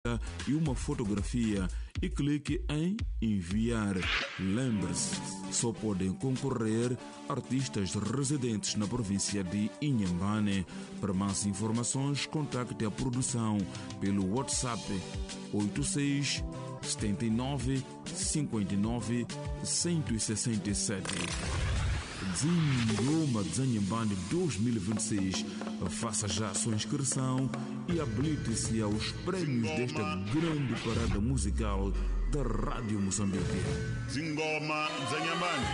E uma fotografia e clique em Enviar. Lembre-se, só podem concorrer artistas residentes na província de Inhambane. Para mais informações, contacte a produção pelo WhatsApp 86 79 59 167. Zingoma Dzanhambane 2026. Faça já a sua inscrição e habilite-se aos prêmios desta grande parada musical da Rádio Moçambique. Zingoma Dzanhambane.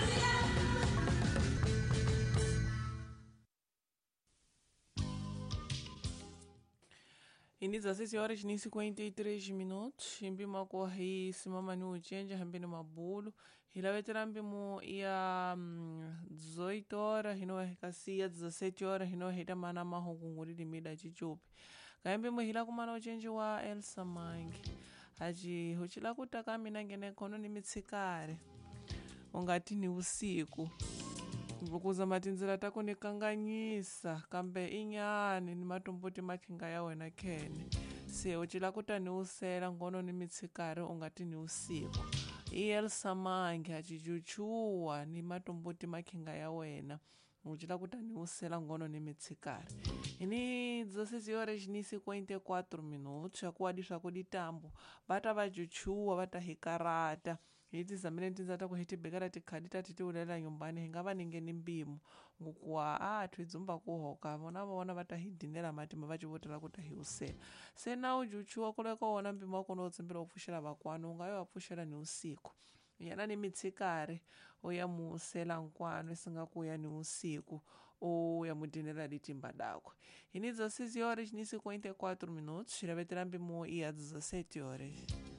Ini 16 horas ni 53 minutos mpimo wa hi simamani ucenja hambeni mabulu hilavetela mpimo ya 18 horas hino hikasiya 17 horas hino hita mana mahukungulili mida cicupi kaya mpimo hila kumana ucenji wa Elsa Mangi aci hucila kutaka mina ngene khono ni mitsikare ungati ni usiku vukuza matindzila ta ku ni kanganyisa kambe inyani ni matumbuti makhinga ya wena khene se u cila ku ta ni usela ngono ni mitshikari u nga ti ni usiku i Elsa Mangi a cicuchuwa ni matumbuti makhinga ya wena u cila ku ta ni usela ngono ni mitshikari ini 16 horas ni 54 minutos akuwadi swa ditambo va ta va cuchuwa va ta hi karata hi tizamile tindza ta ku hi tibekela tikhadi ta ti tiulela nyumbani hi nga va ningeni mpimo ngokuwa a thwi dzumba ku hoka vona vona va ta hi dinela matimba va civotela ku ta hi usela se na u juchuwa kuleka wona mpimo wa kona u tsimbela u pfuxela vakwani u nga yo va pfuxela ni usiku yena ni mitshikari u ya muusela nkwano isinga ku ya ni usiku u ya mudinela litimba dakwe hi ni 16 horas ni 54 minutos xilavetela mpimo i ya 17 horas.